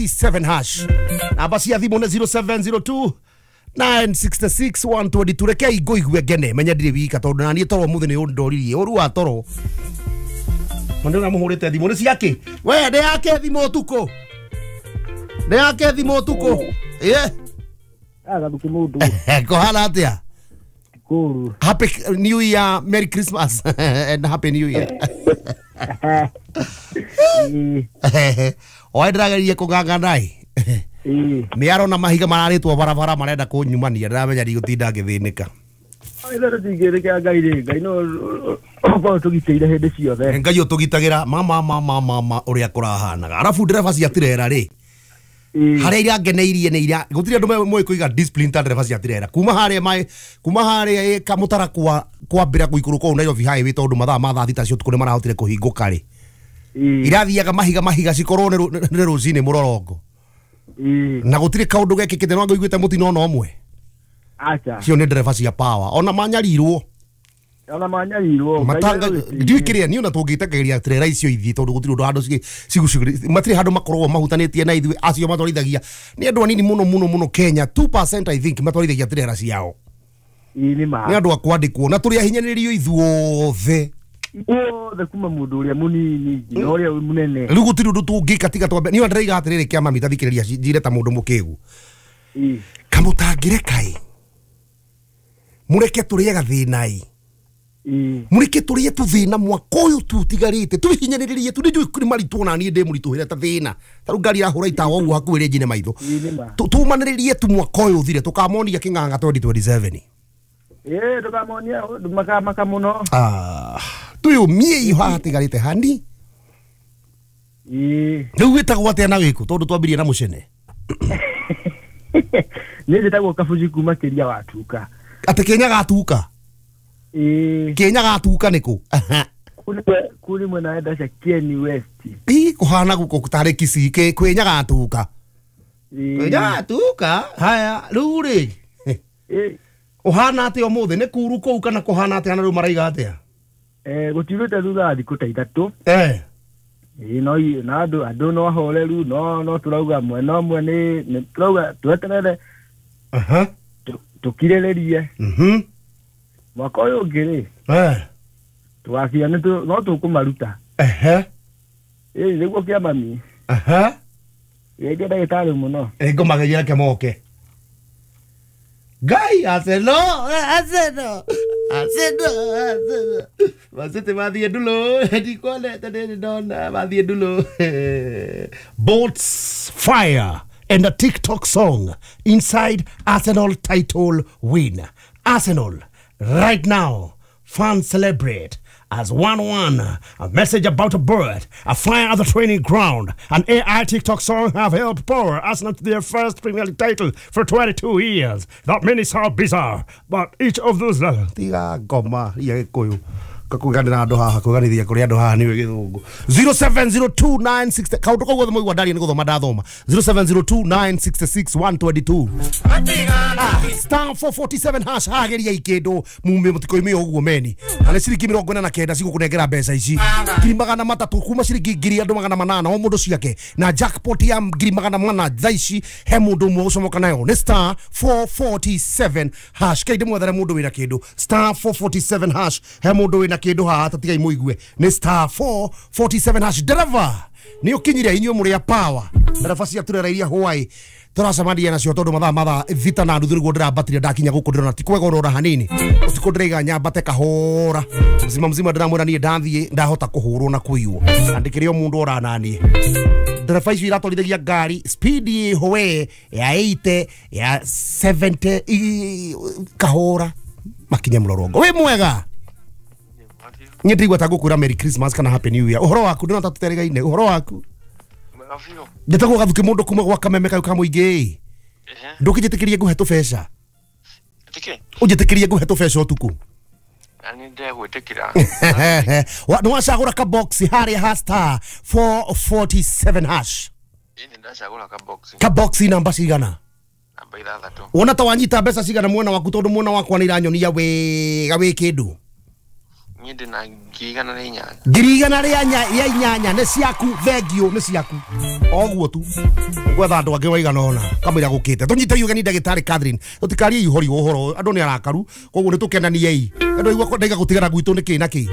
7 hash. Namba cia thimũ nĩ 0702 966 122. Rekei ngũigue ngene menya ndirĩ wika tondũ naniĩ toro ũmũthĩ nĩ ũndoririe ũru wa toro. Mũndũ ũrĩa mũhũrĩte thimũ nĩ ciake? We nĩ yake thimũ ũtukũ? Nĩ yake thimũ ũtukũ? Ĩĩ. Agathuki mundu. Kũhana atĩa? Kuru. Happy New Year, Merry Christmas and Happy New Year. Oe ndĩrageria kũng'ang'ana ĩ. Mĩaro na mahiga mararĩtwo barabara marenda kũnyumania ndĩramenya ndigũtinda ngĩthĩnĩka. Ithe tũtingĩrĩkĩa Ngai rĩ, Ngai no ũkorwo tũgitĩire hĩndĩ ciothe. Ngai ũtũgitagĩra mama mama mama ũrĩa kũrahanaga. Arabu ndereba cia tirera rĩ, harĩa irangeneirie nĩ iria gũtirĩ andũ moĩ kũiga discipline ta ndereba cia tirera. Kuma harĩa mai kuma harĩa kamũtara kwa kwambĩra gũikũrũka ũũ Nairobi highway tondũ mathaa ma thaa thita cia ũtukũ nĩ marahotire kũhingũka rĩ. Irathiaga mahiga mahiga cikorwo nĩ rũcinĩ mũrorongo. Na gũtirĩ kaũndũ gekĩkĩte no ngũiguĩte mũtino ona ũmwe. Acha. Cio nĩ ndereba cia power ona manyarirwo. Ona manyarirwo. Matanga ndiũĩ kĩrĩa niĩ ona tũngĩtekeria trera icio ithiĩ tondũ gũtirĩ ũndũ handũ cigucigĩrĩria matirĩ handũ makoragwo mahutanĩtie na ithuĩ acio matwarithagia nĩ andũ anini mũno mũno mũno Kenya 2% I think matwarithagia trera ciao. Nĩ andũ a kwandĩkwo na tũrĩ ahinyanĩrĩrio ithuothe. Othe kuma mũndũ ũrĩa mũnini nginya ũrĩa mũnene. Rĩu gũtirĩ ũndũ tũngĩka tiga twambe niĩ ndĩraiga atĩrĩrĩ kĩa mami tathikĩrĩria njire ta mũndũ mũkĩgu. Kamũtangĩreka ĩ mũreke tũrĩe gathĩna ĩ. Mũreke tũrĩe tũthĩna mwaka ũyũ tu ũtigarĩte tũhihinyanĩrĩrie tu nĩnjũĩ nĩ maritũ ona niĩ ndĩ mũritũhĩre ta thĩna ta rĩu ngari ĩrahũra itawa ũguo hakuhĩ rĩ njine maitho. Tũmanĩrĩrie tu mwaka ũyũ ũthire tũkamonia kĩng'ang'a 2027. Ĩĩ tũkamonia makamaka mũno. Twĩyũmiei haha hatigarĩte hani. Rĩu wĩtagwo atĩa na wĩkũ tondũ twambirie na mũcene? Niĩ njĩtagwo Kabuci kuma Kĩria wa Tuka. Atĩ Kĩnya gatuka? Ĩĩ. Kĩnya gatuka nĩkũ? Kũu nĩ mwena wa Dacia Kieni West. Ĩ kũhana gũkũ tarĩ Kisii kwĩnya gatuka. Kwĩnya gatuka? Haya rĩu rĩ. Ũhana atĩa ũmũthĩ nĩ kuru kũu kana kũhana atĩa na rĩu maraiga atĩa? Gũtiurĩte thutha wa thikũ ta ithatũ. Ĩĩ no na andũ andũ no ahoreru no no tũrauga mwena ũmwe nĩ tũrauga tweterere. Tũkirĩrĩrie. Mwaka ũyũ ũngĩ rĩ. Tũgakinya nĩ no tũkũmaruta. Ĩĩ nĩguo kĩa mami. Geithia ndagĩtarĩ mũno. Ĩ ngũmageithia reke moke. Ngai Arsenal Arsenal Arsenal Arsenal Masete mathiĩ ndulo ndikwonete ndĩrĩ ndona mathiĩ ndulo. Bolts fire and a TikTok song inside Arsenal title win. Arsenal right now fans celebrate as 1-1. A message about a bird, a fire at the training ground, an AI TikTok song have helped power Arsenal to their first Premier League title for 22 years. That many sound bizarre, but each of those tiga ngoma ya Gĩkũyũ kakũiganĩra andũ haha kũiganithia kũrĩ andũ haha nĩwe gĩthũngũ. 0702960 kaũndũ kau gothe mũigua ndaria nĩ gũthoma ndathoma. 0702966122 star 447 hash hageria ikĩndũ mume mũtikoime ũguo meni na nĩ ciringi 49 cigũkũnengera mbeca ici 300 kuma ciringi 1000 andũ 800 o mũndũ ciake na jackpot ya 400 thaa ici he mũndũ ũmwe ũcomoka nayo nĩ star 447 hash. Kei ndĩmwethere mũndũ wĩna kĩndũ star 447 hash he mũndũ wĩna kĩndũ haha tatigai mũigue nĩ star 447 hash. Ndereba nĩ ũkinyire inyuĩ mũrĩ a power ndereba cia turera iria hwaĩ tũracemania nacio tondũ mathaa mathaa thita na nuthu nĩguo ndĩrambatire ndakinya gũkũ ndĩrona ti kwega ũrora hanini ũtukũ ndĩraiga nyambate kahora mzima mzima ndĩramwĩra niĩ ndathiĩ ndahota kũhũrwo na kũiywo na ndĩkĩrĩ o mũndũ orananiĩ. Ndereba icio iratwarithagia ngari speed ĩho we ya 80 ya 70 kahora makinye mũrorongo. Wĩ mwega? Niĩ ndĩraigua ta ngũkwĩra Merry Christmas kana Happy New Year. Ũhoro waku ndĩrona ta tũterĩgaine. Ũhoro waku? Njĩtagwo Gathuki mũndũ kuma gwa Kameme kau ka mũingĩ. Ndũkĩnjĩtĩkĩrie ngũhe tũbeca? Ũnjĩtĩkĩrie ngũhe tũbeca ũtukũ? Nĩ wacagũra kabox harĩa ha star 447 hash. Kabox namba cigana? Wona ta wanyita mbeca cigana mwena waku tondũ mwena wakwa nĩ iranyonia wega wĩ kĩndũ? Niĩ ndĩ na 108. 108 nĩ ciaku, thengio nĩ ciaku. Oguo tu gwetha andũ angĩ waigana ũna kamũira gũkĩte. Tũnyite ũgeni ndagĩtarĩ Catherine, tũtikarie ihori ũhoro, andũ nĩ arakaru, koguo nĩ tũkenaniei. Andũ aigua ndaiga gũtigana gwitũ nĩ kĩ na kĩ.